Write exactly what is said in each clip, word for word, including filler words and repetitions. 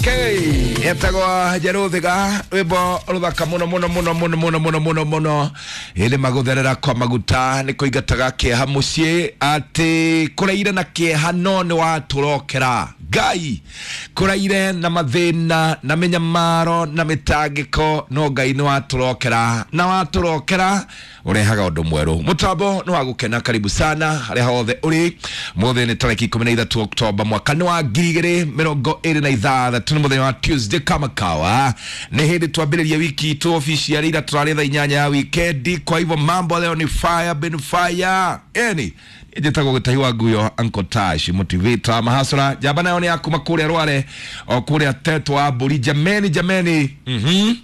Etagwo Njeruthiga, rwimbo ruthaka muno muno muno muno muno muno muno muno. Ĩndĩ magutherera kwa maguta nĩ kũingataga kĩeha mũciĩ, atĩ kũraire na kĩeha no nĩ watũrokera Ngai, kũraire na mathĩna na mĩnyamaro na mĩtangĩko, no Ngai nĩ watũrokera, na watũrokera ũrehaga ũndũ mwerũ. Mũtambo nĩ wa gũkena, karibu sana harĩa hothe ũrĩ. Mũthĩ nĩ tarĩki ikũmi na ithatũ Oktoba mwaka nĩ wa ngiri igĩrĩ mĩrongo ĩrĩ na ithathatũ, nĩ mũthenya wa Tuesday kama kawa. Nĩ hĩndĩ twambĩrĩria wiki itũ officially, ira tũrarĩ thaa inyanya ya wikendi. Kwa hivyo mambo leo ni fire bin fire. Eni njĩtagwo Gĩtahi wa Nguyo, Uncle Tash motivator mahasura. Njamba nayo nĩ ya kuma kũrĩa Rware o kũrĩa Teto wa Mbũri. Jameni, jameni, mhm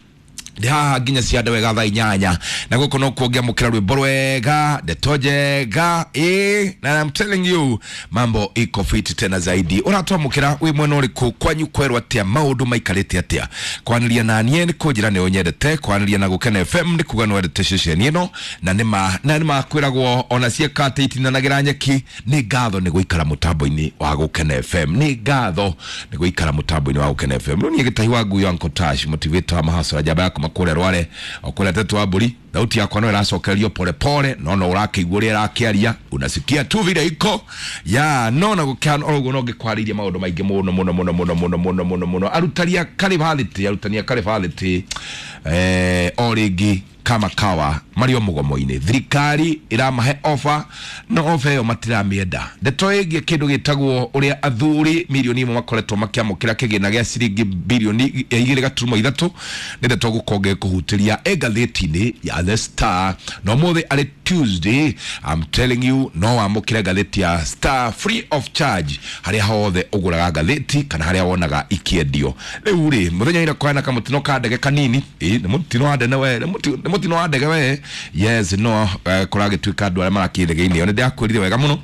ndĩ haha nginya ciande wega thaa inyanya, na gũkũ no kuo ngĩamũkĩra rwĩmbo rwega, ndeto njega, ĩ na I'm telling you mambo iko fit tena zaidi. Ũratwamũkĩra wĩ mwena ũrĩkũ? Kwanyu kwerwo atĩa? Maũndũ maikarĩte atĩa? Kwanĩria na niĩ nĩ kũnjĩra nĩ ũnyendete, kwanĩria na Gũkena F M nĩ kuga nĩ wendete ceceni ĩno, na nĩma na nĩma kwĩragwo ona ciĩka atĩ itinanagĩra nyeki. Nĩ ngatho nĩ gũikara mũtambo-inĩ wa Gũkena F M, nĩ ngatho nĩ gũikara mũtambo-inĩ wa Gũkena F M. Rĩu niĩ Gĩtahi wa Nguyo, Uncle Tash motivator wa mahasura, njamba ya kuma kũrĩa Rware o kũrĩa Teto wa Mbũri. Thauti yakwa no ĩracokererio pole pole, no no ũrakĩigua ũrĩa ĩrakĩaria, unasikia tu vile iko ya no na gũkĩhana oro ũguo. No ngĩkwarĩirie maũndũ maingĩ mũno mũno mũno mũno mũno mũno mũno mũno. Arutani a Karĩbathĩtĩ, arutani a Karĩbathĩtĩ, eh, o rĩngĩ kama kawa marĩ o mũgomo-inĩ. Thirikari ĩramahe ofa, no ofa ĩyo matiramĩenda. Ndeto ĩgiĩ kĩndũ gĩtagwo ũrĩa athuri milioni ĩmwe makoretwo makĩamũkĩra kĩgĩna gĩa ciringi bilioni igĩrĩ gaturumo ithatũ nĩ ndeto gũkorwo ngĩkũhutĩria ĩ ngathĩti-inĩ ya The Star. Na ũmũthĩ arĩ Tuesday, I'm telling you, no wamũkĩre ngathĩti ya Star free of charge harĩa hothe ũgũraga ngathĩti kana harĩa wonaga ikĩendio. Rĩu rĩ, mũthenya ira kwana kamũtino ka ndege kanini, ĩ nĩ mũtino wa ndege we, nĩ mũti- nĩ mũtino wa ndege we, yes, no eh, kũragĩtuĩka andũ arĩa marakĩ ndege-inĩ ĩyo nĩ ndĩrakwĩrire wega mũno.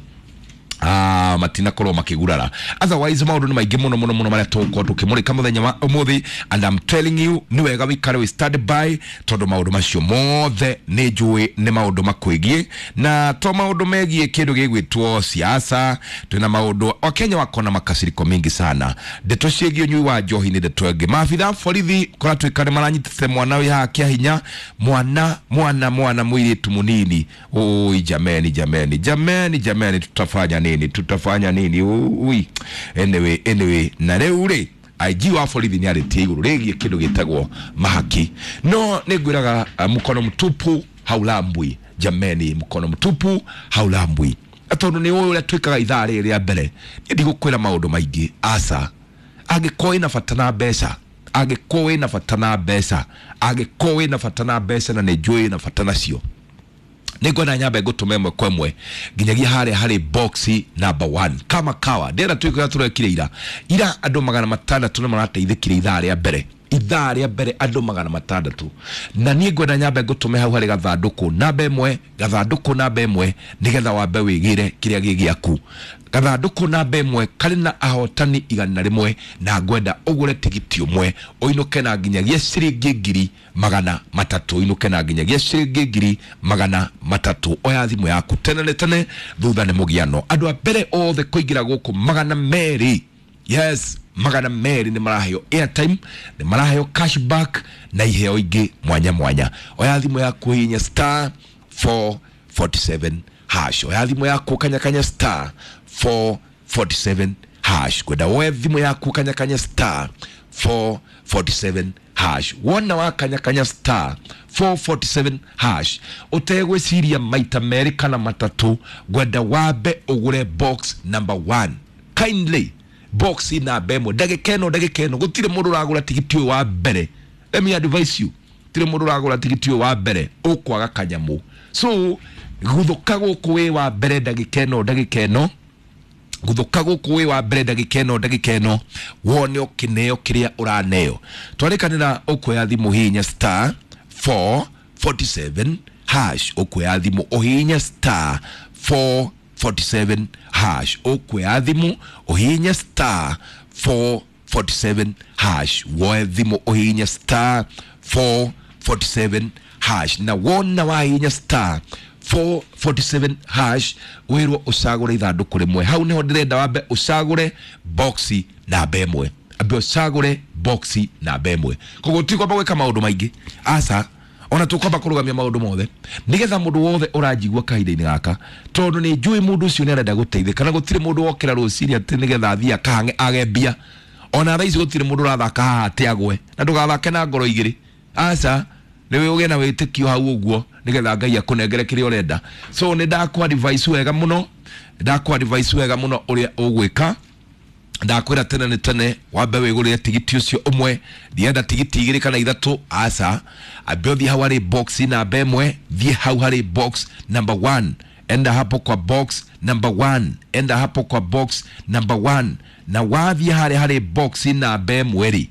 Ah, matinakorwo makĩgurara. Otherwise maũndũ nĩ maingĩ mũno mũno mũno marĩa tũgũkorwo tũkĩmũrĩka mũthenya wa ũmũthĩ, and I'm telling you nĩ wega wĩikare wĩ stand by, tondũ maũndũ macio mothe nĩ njũĩ nĩ maũndũ makwĩgiĩ, na to maũndũ megiĩ kĩndũ gĩgwĩtwo siasa. Twĩna maũndũ Wakenya wako na makasiriko mingi sana. Ndeto ciĩgiĩ ũnyui wa njohi nĩ ndeto ĩngĩ. Maabitha borithi kũratuĩka nĩ maranyitĩte mwana wĩ haha kĩa hinya, mwana mwana mwana mũirĩtu mũnini. Ui, jameni, jameni, jameni, jameni, tutafanya nini? Tutafanya nini? Ui, anyway, anyway, na rĩu rĩ, I G wa borithi nĩ arĩtie igũrũ rĩgiĩ kĩndũ gĩtagwo mahaki. No nĩ ngwĩraga, uh, mkono mtupu haulambwi. Jameni, mkono mtupu haulambwi. Na tondũ nĩ ũĩ ũrĩa twĩkaga ithaa rĩrĩ rĩa mbere, niĩ ndigũkwĩra maũndũ maingĩ, aca. Angĩkorwo wĩna bata na mbeca, angĩkorwo wĩna bata na mbeca, angĩkorwo wĩna bata na mbeca, na nĩ njũĩ wĩna bata nacio, nĩ ngwenda nyambe ngũtũme ĩmwe kwa ĩmwe nginyagia harĩa harĩ box number one. Kama kawa ndĩrenda twĩke ũrĩa tũrekire ira. Ira andũ magana matandatũ nĩ marateithĩkire ithaa rĩa mbere, ithaa rĩa mbere andũ magana matandatũ. Na niĩ ngwenda nyambe ngũtũme hau harĩ gathandũkũ namba ĩmwe, gathandũkũ namba ĩmwe, nĩgetha wambe wĩgĩre kĩrĩa gĩ gĩaku. Gathandũkũ namba ĩmwe karĩ na ahotani igana rĩmwe, na ngwenda ũgũre tigiti ũmwe ũinũke na nginyagia ciringi ngiri magana matatũ, ũinũke na nginyagia ciringi ngiri magana matatũ. Oya thimũ yaku tene nĩ tene, thutha nĩ mũgiano. Andũ a mbere othe kũingĩra gũkũ magana merĩ, yes, magana merĩ nĩ maraheo airtime, nĩ maraheo cashback na iheo ingĩ mwanya mwanya. Oya thimũ yaku, hihinya star four forty-seven hash. Oya thimũ yaku, kanyakanya star four forty-seven hash. Kwenda woe thimũ yaku, kanyakanya star four forty-seven hash. Wona wakanyakanya star four forty-seven hash ũtegwĩciria maita merĩ kana matatũ, ngwenda wambe ũgũre box number one. Kindly, box namba ĩmwe. Ndagĩka ĩno, ndagĩka ĩno gũtirĩ mũndũ ũragũra tigiti ũyũ wa mbere. Let me advise you, gũtirĩ mũndũ ũragũra tigiti ũyũ wa mbere ũkwaga kanyamũ. So guthũka gũkũ wĩ wa mbere ndagĩka ĩno, ndagĩka ĩno guthuka gũkũ wĩ wa mbere ndagĩka ĩno, ndagĩka ĩno wone ũkĩneo kĩrĩa ũraneo. Twarĩkanĩra, ũkuoya thimũ hihinya star four forty-seven hash. Ũkuoya thimũ ũhihinye star four forty-seven hash. Ũkuoya thimũ ũhihinye star four forty-seven hash. Woe thimũ ũhihinye star four forty-seven hash, na wona wahihinya star four forty-seven hash wĩrwo ũcagũre ithandũkũ rĩmwe. Hau nĩho ndĩrenda wambe ũcagũre boxi namba ĩmwe. Ambe ũcagũre box namba ĩmwe. Koguo tikwamba gwĩka maũndũ maingĩ, aca, ona tukwamba kũrũgamia maũndũ mothe nĩgetha mũndũ wothe ũranjigua kahinda-inĩ gaka, tondũ nĩ njũĩ mũndũ ũcio nĩ arenda gũteithĩka, na gũtirĩ mũndũ wokĩra rũcinĩ atĩ nĩgetha athiĩ akahange age mbia. Ona thaa ici gũtirĩ mũndũ ũrathaka haha atĩ agwe, na ndũgathake na ngoro igĩrĩ, aca, nĩ ũgĩe na wĩtĩkio hau ũguo nĩgetha Ngai akũnengere kĩrĩa ũrenda. So nĩ ndakũ advice wega mũno, ndakũ advice wega mũno ũrĩa ũgwĩka. Ndakwĩra tene nĩ tene wambe wĩgũrĩre tigiti ũcio ũmwe, ndienda tigiti igĩrĩ kana ithatũ, aca. Ambe ũthiĩ hau harĩ box namba ĩmwe, thiĩ hau harĩ box number one, enda hapo kwa box number one, enda hapo kwa box number one. Na wathiĩ harĩa harĩ box namba ĩmwe rĩ,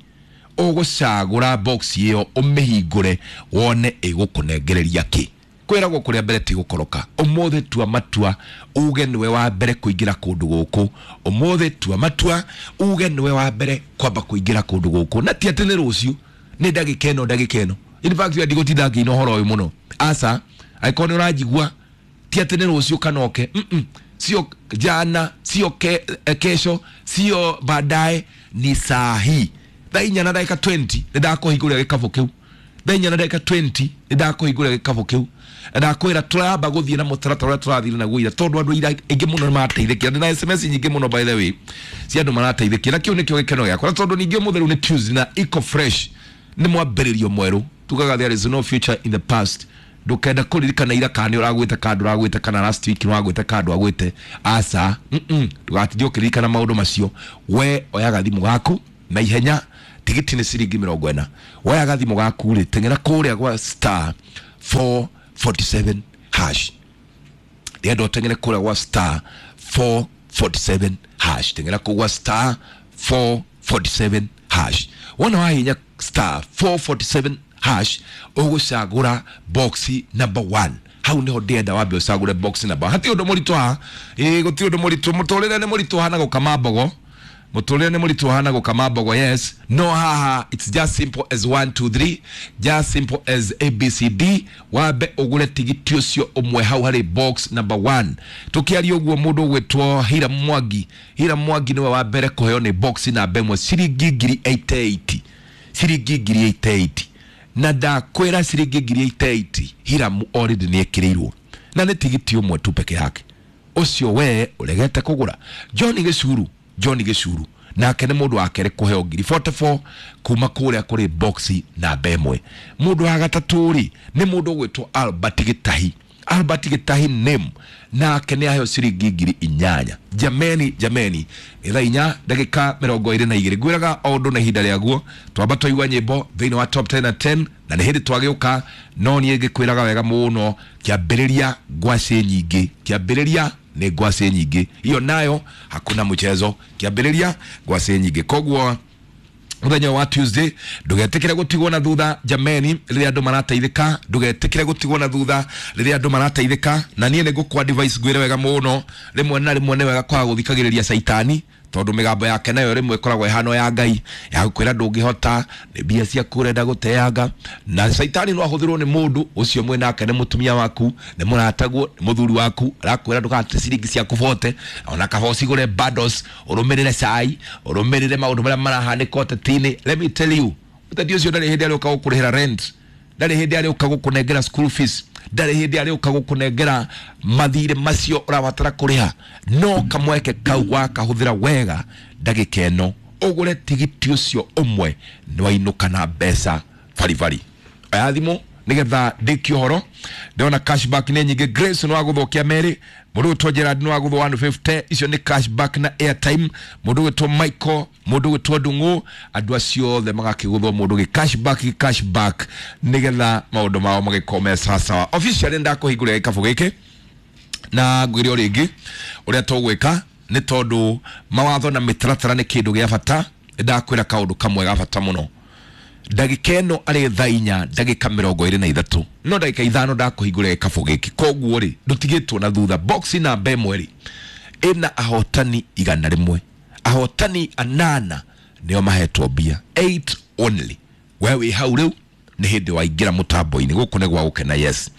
ũgũcagũra box ĩyo ũmĩhingũre wone ĩgũkũnengereria kĩ. Kwĩragwo kũrĩa mbere ti gũkoroka. Ũmũthĩ tua matua uge nĩwe wa mbere kũingĩra kũndũ gũkũ. Ũmũthĩ tua matua uge nĩwe wa mbere kwamba kũingĩra kũndũ gũkũ, na ti atĩ nĩ rũciũ, nĩ ndagĩka ĩno, ndagĩka ĩno. In fact ndigũtinda ngĩina ũhoro ũyũ mũno, aca. Angĩkorwo nĩ ũranjigua, ti atĩ nĩ rũciũ kana oke, mm sio jana, sio ke, kesho, sio baadaye, ni saa hii thaa inya na ndagĩka mĩrongo ĩĩrĩ nĩ ndakũhingũrĩra gĩkabũ kĩu. Thaa inya na ndagĩka mĩrongo ĩĩrĩ nĩ ndakũhingũrĩra gĩkabũ kĩu. Ndakwĩra tũramba gũthiĩ na mũtaratara ũrĩa tũrathire naguo ira, tondũ andũ ira aingĩ mũno nĩ marateithĩkire. Ndĩ na S M S nyingĩ mũno, by the way, cia andũ marateithĩkire, na kĩu nĩkĩo gĩkeno gĩakwa. Na tondũ ningĩ ũmũthĩ rĩu nĩ Tuesday na Eco Fresh nĩ mwambĩrĩrio mwerũ, tugaga there is no future in the past. Ndũkenda kũririkana ira kana nĩ ũragwĩte kana ndũragwĩte, kana last week nĩ wagwĩte kana ndwagwĩte, aca, ndũgatinde ũkĩririkana maũndũ macio. We oyaga thimũ gaku na ihenya, tigiti nĩ ciringi mĩrongo ĩna. Woyaga thimũ gaku rĩ, teng'era kũrĩa gwa star four forty-seven hash. Ndĩrenda ũteng'ere kũrĩa gwa star four forty-seven hash, teng'era kũu gwa star four forty-seven hash. Wona wahinya star four forty-seven hash, ũgũcagũra box number one. Hau niho ndĩrenda wambe ũcagũre box number. Hatirĩ ũndũ mũritũ haha, ĩĩ, gũtirĩ ũndũ mũritũ. Mũtũrĩre nĩ mũritũ hana gũkama mbogo, mũtũrĩre nĩ mũritũ hana gũkama mbogo, yes. No haha it's just simple as one two three, just simple as A B C D. Wambe ũgũre tigiti ũcio ũmwe hau harĩ box number one. Tũkĩaria ũguo, mũndũ ũgwĩtwo Hira Mwangi, Hira Mwangi nĩwe wa mbere kũheo nĩ box namba ĩmwe ciringi ngiri mĩrongo ĩnane, ciringi ngiri mĩrongo ĩnane. Na ndakwĩra ciringi ngiri mĩrongo ĩnane Hiramu already nĩ ĩkĩrĩirwo, na nĩ tigiti ũmwe tu peke yake ũcio we ũregete kũgũra. John Gĩcuru, John Gĩcuru nake nĩ mũndũ wa kerĩ kũheo ngiri mĩrongo ĩna na nĩa kuma kũrĩa kũrĩ box namba ĩmwe. Mũndũ wa gatatũ rĩ, nĩ mũndũ ũgwĩtwo Albert Gĩtahi, Albert Gĩtahi name, nake nĩ aheo ciringi ngiri inyanya. Jameni, jameni, nĩ thaa inya ndagĩka mĩrongo ĩrĩ na igĩrĩ. Ngwĩraga o ũndũ na ihinda rĩaguo. Twamba twaigua nyĩmbo thĩinĩ wa Top ten na ten, na nĩ hĩndĩ twagĩũka. No niĩ ngĩkwĩraga wega mũno, kĩambĩrĩria ngwacĩ nyingĩ, kĩambĩrĩria nĩ ngwacĩ nyingĩ, hiyo nayo hakuna mchezo, kĩambĩrĩria ngwacĩ nyingĩ. Koguo muthenya wa Tuesday ndugetikire gutigwo na thutha, jameni, riria andu marateithika. Ndugetikire gutigwo na thutha riria andu marateithika. Na niĩ nĩ ngũkwa advice, ngwĩre wega mũno, rĩmwe na rĩmwe nĩ wega kwaga gũthikagĩrĩria caitani, tondũ mĩgambo yake nayo rĩmwe ĩkoragwo ĩhano ya Ngai ya gũkwĩra ndũngĩhota, nĩ mbia ciaku ũrenda gũteanga. Na caitani no ahũthĩrwo nĩ mũndũ ũcio mwĩ nake, nĩ mũtumia waku, nĩ mũrataguo, nĩ mũthuri waku, arakwĩra ndũgate ciringi ciaku bote, ona kaba ũcigũre bundles, ũrũmĩrĩre cai, ũrũmĩrĩre maũndũ marĩa marahanĩka ũteti-inĩ. Let me tell you, ũteti ũcio ndarĩ hĩndĩ arĩũka gũkũrĩhĩra rent, ndarĩ hĩndĩ arĩũka gũkũnengera school fees, ndarĩ hĩndĩ arĩũka gũkũnengera mathirĩ macio ũrabatara kũrĩha. No kamweke kau wakahũthĩra wega, ndagĩka ĩno ũgũre tigiti ũcio ũmwe, nĩ wainũka na mbeca baribari. Oya thimũ nigetha ndĩkie ũhoro. Ndĩrona cashback nĩ nyingĩ. Grace nĩ wagũthwo merĩ, mũndũ ũgwĩtwo Gerard nĩ wagũthwo igana rĩa mĩrongo ĩtano, icio nĩ cashback na airtime. Mũndũ ũgwĩtwo Michael, mũndũ ũgwĩtwo Ndung'u, andũ acio othe magakĩgũthwo mũndũ gĩ cashback, gĩ cashback, nĩgetha maũndũ mao magĩkorwo me sawasawa. Officially ndakũhingũrĩra gĩkabũ gĩkĩ na ngwĩre o rĩngĩ ũrĩa tũgwĩka, nĩ tondũ mawatho na mĩtaratara nĩ kĩndũ gĩa bata. Ndakwĩra kaũndũ kamwe ga bata mũno. Ndagĩka ĩno arĩ thaa inya ndagĩka mĩrongo ĩrĩ na ithatũ, no ndagĩka ithano ndakũhingũrĩra gĩkabũ gĩkĩ. Koguo rĩ, ndũtigĩtwo na thutha. Box namba ĩmwe rĩ, ĩna ahotani igana rĩmwe, ahotani anana nĩo mahetwo mbia, eight only. We wĩ hau rĩu nĩ hĩndĩ waingĩra mũtambo-inĩ gũkũ nĩ gwa gũkena, yes.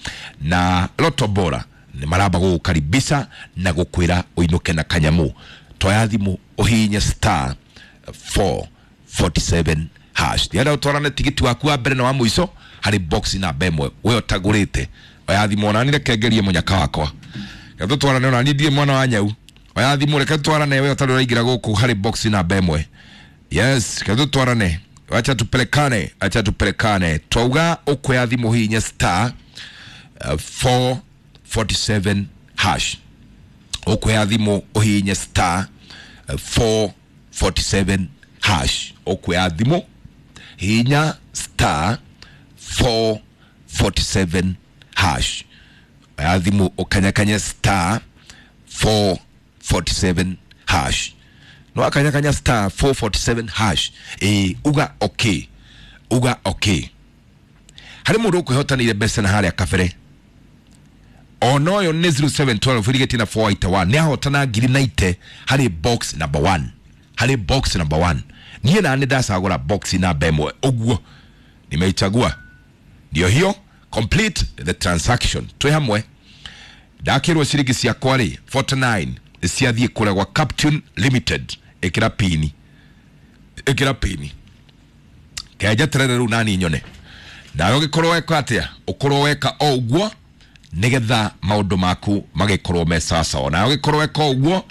Na Loto Bora nĩ maramba gũgũkaribisha na gũkwĩra ũinũke na kanyamũ. Toya thimũ ũhihinye star four forty-seven hash. Ndienda ũtwarane tigiti waku wa mbere na wa mũico harĩ box namba ĩmwe we ũtagũrĩte. Oya thimũ ona niĩ reke ngerie mũnyaka wakwa, reke tũtwarane ona niĩ ndirĩ mwana wa nyau. Oya thimũ reke tũtwarane we ũtarĩ ũraingĩra gũkũ harĩ box namba ĩmwe. Yes, reke tũtwarane, acha tupelekane, acha tupelekane. Twauga ũkuoya thimũ hihinya star uh, four forty-seven hash. Ũkuoya thimũ ũhihinye star uh, four forty-seven hash. Ũkuoya thimũ hihinya star four forty-seven hash. Oya thimũ ũkanyakanye star four forty-seven hash. No akanyakanya star four forty-seven hash. E, uga okay, uga okay. Harĩ mũndũ ũkwĩhotanĩire mbeca na harĩa kabere ona ũyũ nĩ zero seven twelve irigĩtie na four eight one nĩ ahotana ngiri ninety harĩ box number one, harĩ box number one. Niĩ na nĩ ndacagũra box namba ĩmwe ũguo nimeichagua, ndio hiyo, complete the transaction. Twĩ hamwe ndakĩrwo ciringi ciakwa rĩ forty-nine ciathiĩ kũrĩa gwa Captain Limited. Ĩkĩra pini, ĩkĩra pini kenjeterere rĩu nani nyone nawe ũgĩkorwo weka atĩa, ũkorwo weka o ũguo nĩgetha maũndũ maku magĩkorwo me sawasawa. Nawe ũgĩkorwo weka o ũguo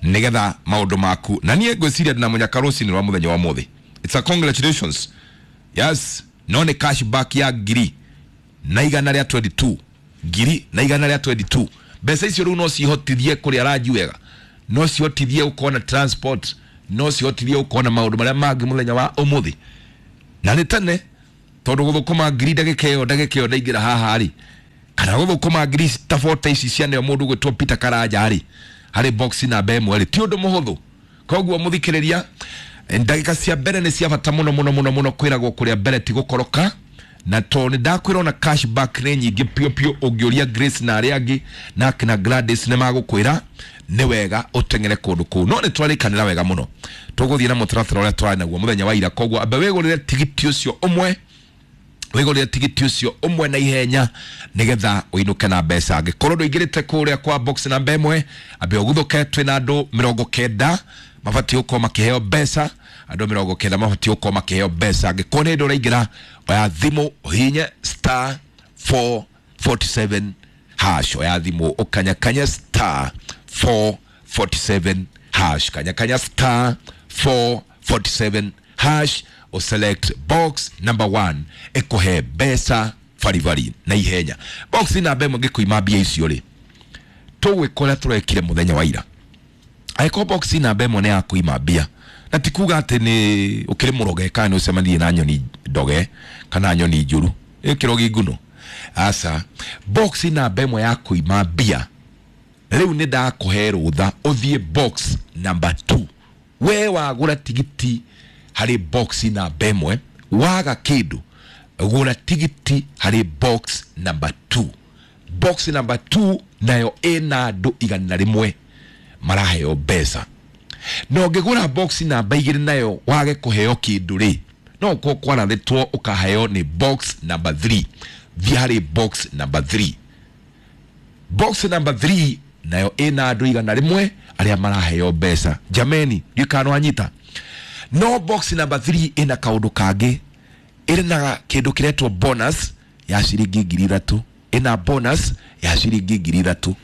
nĩgetha maũndũ maku, na niĩ ngwĩciria ndĩna mũnyaka rũcinĩ rwa mũthenya wa ũmũthĩ. It's a congratulations. Yes, no nĩ cash back ya ngiri na igana rĩa twenty-two, ngiri na igana rĩa twenty-two. Mbeca icio rĩu no cihotithie kũrĩa ranji wega, no cihotithie gũkorwo na transport, no cihotithie gũkorwo na maũndũ marĩa mangĩ mũthenya wa ũmũthĩ. Na nĩ tene tondũ gũthũkũma ngiri ndagĩka ĩyo ndagĩka ĩyo ndaingĩra haha rĩ, kana gũthũkũma ngiri ta forty ici cianeo mũndũ ũgwĩtwo Peter Karanja rĩ harĩ box namba ĩmwe rĩ ti ũndũ mũhũthũ. Koguo mũthikĩrĩria, ndagĩka cia mbere nĩ cia bata mũno mũno mũno mũno, kwĩragwo kũrĩa mbere ti gũkoroka. Na tondũ nĩ ndakwĩra ona cash back nĩ nyingĩ piũ piũ, ũngĩũria Grace na arĩa angĩ na akina Gladys nĩ magũkwĩra nĩ wega ũteng'ere kũndũ kũu. No nĩ twarĩkanĩra wega mũno, tũgũthiĩ na mũtaratara ũrĩa twarĩ naguo mũthenya wa ira. Koguo amba wĩgũrĩre tigiti ũcio ũmwe, wĩgũrĩre tigiti ũcio ũmwe na ihenya nĩgetha ũinũke na mbeca. Angĩkorwo ndũingĩrĩte kũrĩa kwa box namba ĩmwe, ambe ũguthũke, twĩna andũ mĩrongo kenda mabatiĩ gũkorwo makĩheo mbeca, andũ mĩrongo kenda mabatiĩ gũkorwo makĩheo mbeca. Angĩkorwo nĩ hĩndĩ ũraingĩra, oya thimũ ũhihinye star four forty-seven hash. Oya thimũ ũkanyakanye star four forty-seven hash, kanyakanya star four forty-seven hash, uselect box number one ĩkũhe mbeca baribari na ihenya. Box namba ĩmwe ngĩkũima mbia icio rĩ, tũgwĩka ũrĩa tũrekire mũthenya wa ira. Angĩkorwo box namba ĩmwe nĩ ya kũima mbia, na ti kuga atĩ nĩ ũkĩrĩ mũroge kana nĩ ũcemanirie na nyoni ndoge kana nyoni njũru ĩkĩro gĩnguno, aca. Box namba ĩmwe ya kũima mbia rĩu nĩ ndakũhe rũtha ũthiĩ box number two. We wagũra tigiti harĩ box namba ĩmwe, waga kĩndũ gũra tigiti harĩ box number two. Box number two nayo ĩna andũ igana rĩmwe maraheo mbeca. Na ũngĩgũra box namba igĩrĩ nayo wage kũheo kĩndũ rĩ, no ũkorwo kwarathĩtwo ũkaheo nĩ box number three. Thiĩ harĩ box number three. Box number three nayo ĩna andũ igana rĩmwe arĩa maraheo mbeca. Jameni, ndiũĩ kana nĩwanyita. No box number three ĩna kaũndũ kangĩ, ĩrĩ na kĩndũ kĩretwo bonus ya ciringi ngiri ithatũ, ĩna bonus ya ciringi ngiri ithatũ.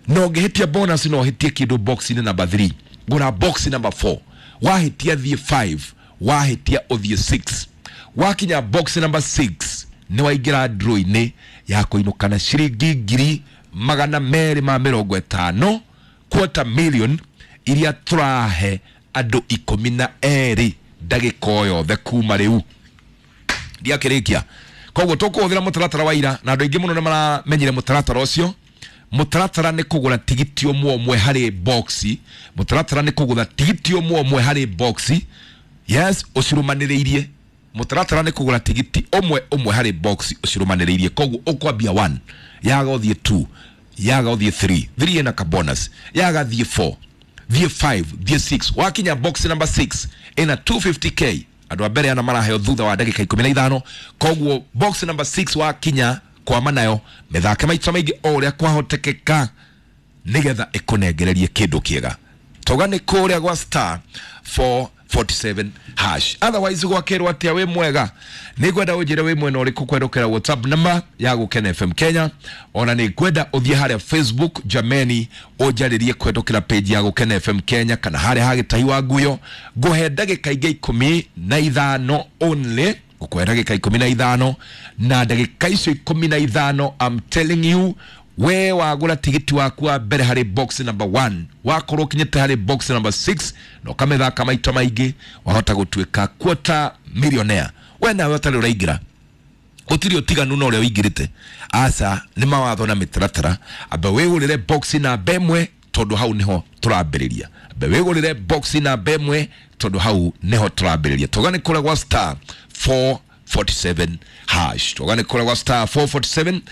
Na ũngĩhĩtia bonus no ũhĩtie kĩndũ box-inĩ number three. Gũra box number four, wahĩtia thiĩ five, wahĩtia ũthiĩ six. Wakinya box number six nĩ waingĩra draw-inĩ ya kũinũka na ciringi ngiri magana merĩ ma mĩrongo ĩtano, quarter million iria tũrahe andũ ikũmi na erĩ ndagĩka o yothe kuma rĩu. Ndiakĩrĩkia. Koguo tũkũhũthĩra mũtaratara wa ira, na andũ aingĩ mũno nĩ maramenyire mũtaratara ũcio. Mũtaratara nĩ kũgũra tigiti ũmwe ũmwe harĩ box, mũtaratara nĩ kũgũra tigiti ũmwe ũmwe harĩ box. Yes, ũcirumanĩrĩirie. Mũtaratara nĩ kũgũra tigiti ũmwe ũmwe harĩ box ũcirumanĩrĩirie. Koguo ũkwambia one, yaga ũthiĩ two, yaga ũthiĩ three, three ĩna ka bonus, yaga thiĩ four, thiĩ five, thiĩ six. Wakinya box number six ĩna two fifty k, andũ a mbere ana maraheo thutha wa ndagĩka ikũmi na ithano. Koguo box number six wakinya kwama nayo mĩthake maita maingĩ o ũrĩa kwahotekeka nĩgetha ĩkũnengererie kĩndũ kĩega. Toga nĩ kũrĩa gwa star four four forty-seven hash. Otherwise gwakĩrwo atĩa? Wĩ mwega? Nĩ ngwenda ũnjĩre wĩ mwena ũrĩkũ kwerũkĩra WhatsApp namba ya Gũkena F M Kenya. Ona nĩ ngwenda ũthiĩ harĩa Facebook, jameni, ũnjarĩrie kũhetũkĩra page ya Gũkena F M Kenya kana harĩa hagĩtahi wa nguyo. Ngũhe ndagĩka ingĩ ikũmi na ithano only, ngũkũhe ndagĩka ikũmi na ithano, na ndagĩka icio ikũmi na ithano, I'm telling you, we wagũra tigiti waku wa mbere harĩ box number one, wakorwo ũkinyĩte harĩ box number six na ũkamĩthaka maita maingĩ, wahota gũtuĩka quarter millionaire. We nawe ũtarĩ ũraingĩra, gũtirĩ ũtiganu na ũrĩa ũingĩrĩte. Aca, nĩ mawatho na mĩtaratara. Amba wĩgũrĩre box namba ĩmwe tondũ hau nĩho tũrambĩrĩria. Amba wĩgũrĩre box namba ĩmwe tondũ hau nĩho tũrambĩrĩria. Tũgane kũrĩa gwa star four forty-seven hash, tũgane kũrĩa gwa star four forty-seven.